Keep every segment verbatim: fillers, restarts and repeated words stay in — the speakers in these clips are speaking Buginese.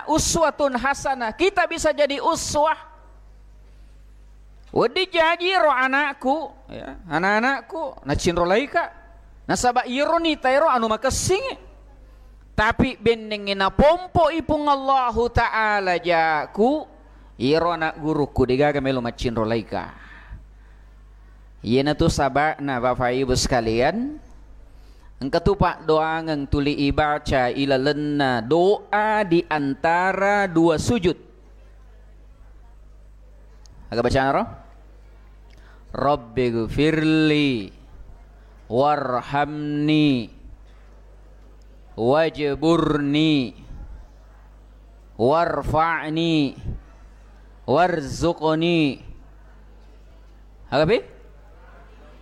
uswatun hasanah. Kita bisa jadi uswah. Wedding jaji ro anakku, ya, anak-anakku, nacinrolaika. Nasaba iyaro nita ero anu makessingngi. Tapi bennengnge napompo'i Puang Allahu Ta'ala jaku, iyaro anak gurukku degaga melo macinrolaika. Iyanatu saba'na, Bapak Ibu sekalian, engka tu paddoangeng tuli ibaca ilalenna doa di antara dua sujud. Aga bacana ro? Rabbighfirli warhamni wajburni warfa'ni warzuqni. Aga pi?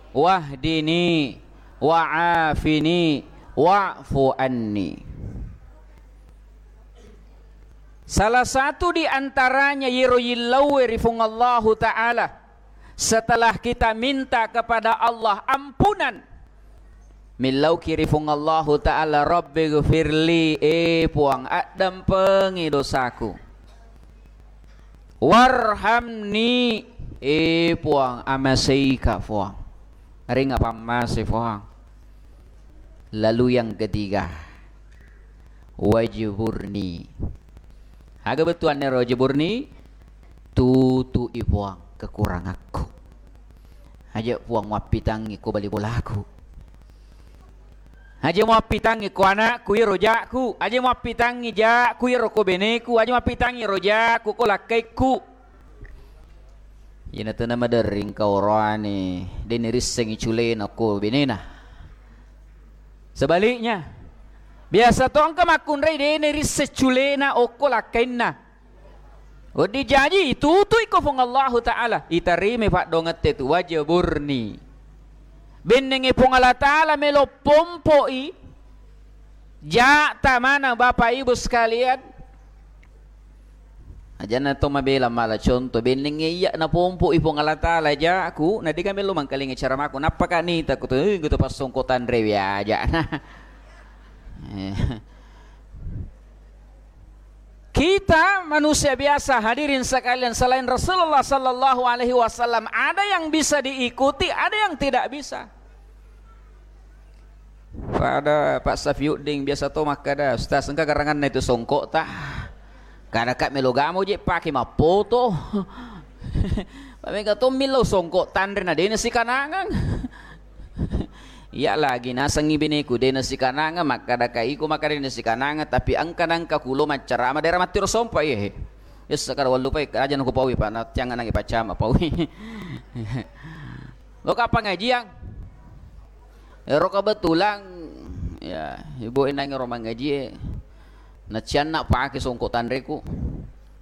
Wahdini wa'afini wa'fu anni. Salah satu di antaranya yero yillauwe ri Fuang Allahu Ta'ala. Setelah kita minta kepada Allah ampunan, millauki ri Fuang Allahu Ta'ala, "Rabbighfirli, eh Puang, addampengi dosaku. Warhamni, eh Puang, amaseika Puang." Ringa pammase Puang. Lalu yang ketiga, wajburni. Aga bettuanna ro wajburni? Tutui Puang kekurangakku. Aja Puang wappitangngi ko bali bolaku. Aja muappitangngi ko anakku iro jakku. Aja muappitangngi jakku iro ko beneku. Aja muappitangngi ro jakku ko lakkaikku. Iyana tena maderring kau roane, de' nirissengi culena okko benena. Sebaliknya, biasa to engka makkunrai de' nirisseng culena okko lakkainna. Wedding jaji itutui ko Fuang Allahu Ta'ala, itarimai paddoangette tu, wajburni. Bennengnge Fuang Allah Ta'ala melo pompoi ja'ta maneng, Bapak Ibu sekalian. Ajanna to mabela mala contoh, bennengnge iya napompo'i Fuang Allah Ta'ala jakku, na de'ga melo mangkalinga caramaku, nappaka nita ku tu, eh, gitu pas songko tanrewe aja. Eh. Kita manusia biasa, hadirin sekalian, selain Rasulullah sallallahu alaihi wasallam, ada yang bisa diikuti, ada yang tidak bisa. Pada Pak Safiuddin biasa to makkada, "Ustaz, engka garanganna itu songkok ta?" Kada ka melo gamo je pake mappoto. Pak mega to millau songkok tanre na dena sikanangang. Iya lagi nasengngi beneku dena sikanangang, makkada ka iko makkada dena sikanangang, tapi engka nangka kulo maccarama daerah mattiro sompa iye. Yes, kada wallupai aja naku paui, Pak, na tiang nangi pacama paui. Loka pengajian. Ero kebetulan, ya, ibu enang ero mangaji e. Nacianna pake songkok tanreku.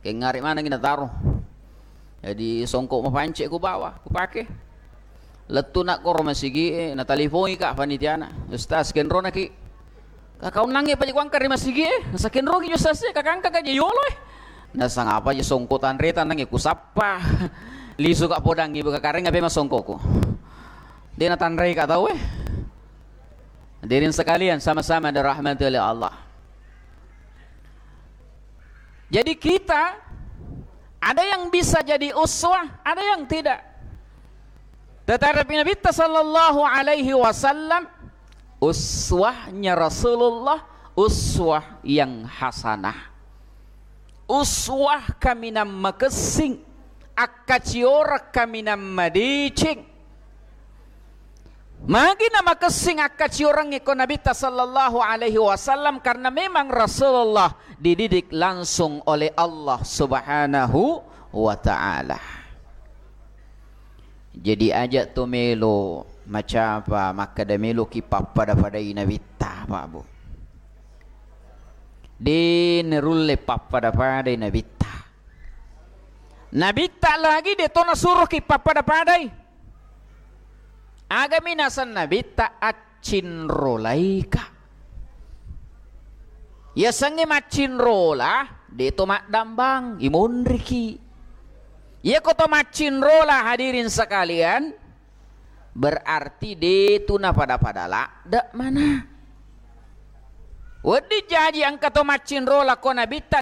Kengare manengi nataro. Jadi songkok mapance ku bawa, ku pake. Lettu na koro masigi e, natalipongi ka panitiana. "Ustaz, kenrona ki." Kakaunnangnge paja kuangka ri masigi e, nasakenroki jo sase, kakangka ka je yolo e. Nasangapa je songko tanre tanangnge kusappa. Lisu ka podangngi buka kareng ape masongkoku. De natanrei ka tau e. Hadirin sekalian, sama-sama dirahmati oleh Allah. Jadi kita ada yang bisa jadi uswah, ada yang tidak. Tetapi Nabi sallallahu alaihi wasallam uswahnya Rasulullah, uswah yang hasanah. Uswah kaminang makessing, akkacioreng kaminang madeceng. Magi namakessing akkacioreng ko Nabitta sallallahu alaihi wasallam, karena memang Rasulullah dididik langsung oleh Allah Subhanahu wa Ta'ala. Jadi aja to melo macapa makkada meloki pappada-padai Nabitta, Pak Bu. De narulle pappada-padai Nabitta. Nabitta lagi de to nasuroki pappada-padai. Agami naseng Nabitta accinrolaika. Yasengnge maccinrola, de to maddambang, imonriki. Iyako to maccinrola, hadirin sekalian, berarti de tu napada-pada ladde mana. Wedding jaji engka to maccinrola ko Nabitta,